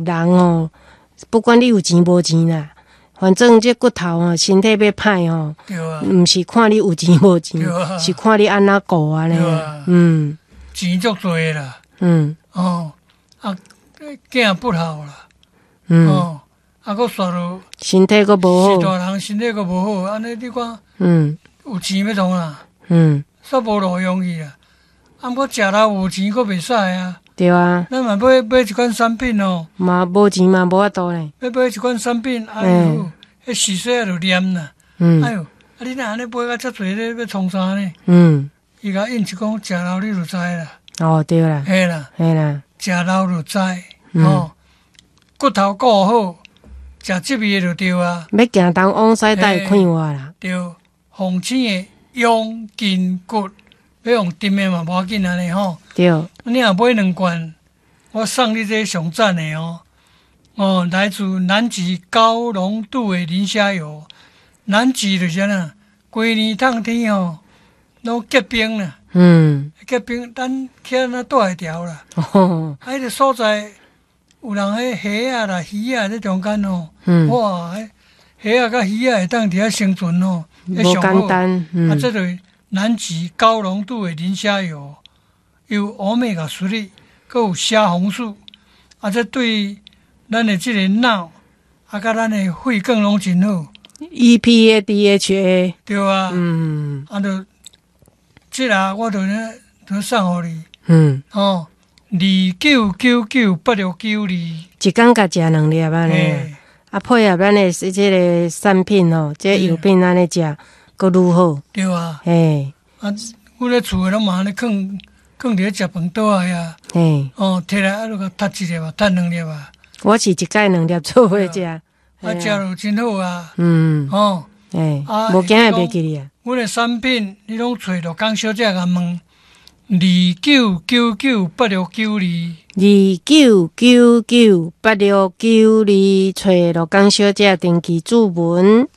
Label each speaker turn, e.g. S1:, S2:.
S1: 人哦，不管你有錢無錢啦，反正這骨頭哦，身體欲歹哦，毋是看你有錢無錢，是看你按怎顧按呢。
S2: 錢足濟啦，哦，啊，囝不孝啦，哦，啊，閣煞落
S1: 身體閣無好，
S2: 是大人身體閣無好，按呢你看，有錢欲創啥？煞無路用去啦。啊，毋過食老有錢閣袂使啊。
S1: 對啊。
S2: 咱嘛買買一款產品哦。
S1: 嘛無錢嘛無法度咧。
S2: 欲買一款產品，哎喲，彼時勢仔就念啦。哎喲，啊你若按呢買甲遮濟咧，欲創啥呢？伊共應一講，食老你就知啦。
S1: 哦，對啦。
S2: 嘿啦。
S1: 嘿啦。
S2: 食老就知，哦，骨頭顧好，食這味的就對啊。
S1: 欲行東往西帶快活啦。
S2: 對，鳳青的養筋骨，欲用沉的嘛無要緊按呢吼。
S1: 對。
S2: 你若買兩罐，我送你這上讚的哦。哦，來自南極高濃度的磷蝦油。南極就是按怎，規年冬天吼，攏結冰啦。結冰，咱去那住會牢啦。啊，彼個所在有人彼蝦仔啦、魚仔佇中間吼。哇！蝦仔佮魚仔會當佇遐生存吼，
S1: 無簡單。
S2: 啊，這就是南極高濃度的磷蝦油，有歐米伽3，閣有蝦紅素。啊，這對咱的這個腦，啊，佮咱的血管攏真好。
S1: EPA DHA。
S2: 對啊。啊，就這個我就呢，就送予你。哦，29998692。
S1: 一工共食兩粒按呢。啊，配合咱的這個產品吼，這個藥品按呢食，閣愈好。
S2: 對啊。
S1: 嘿。
S2: 啊，阮咧厝的攏嘛按呢囥囥佇咧食飯桌仔遐。哦，提來啊，就共踢一粒啊，踢兩粒啊。
S1: 我是一擺兩粒做伙食。
S2: 啊，食就真好啊。哦。
S1: 啊，無驚會袂記哩啊。
S2: 阮的產品，你攏揣陸江小姐共問，29998692。
S1: 29998692，揣陸江小姐登記注文。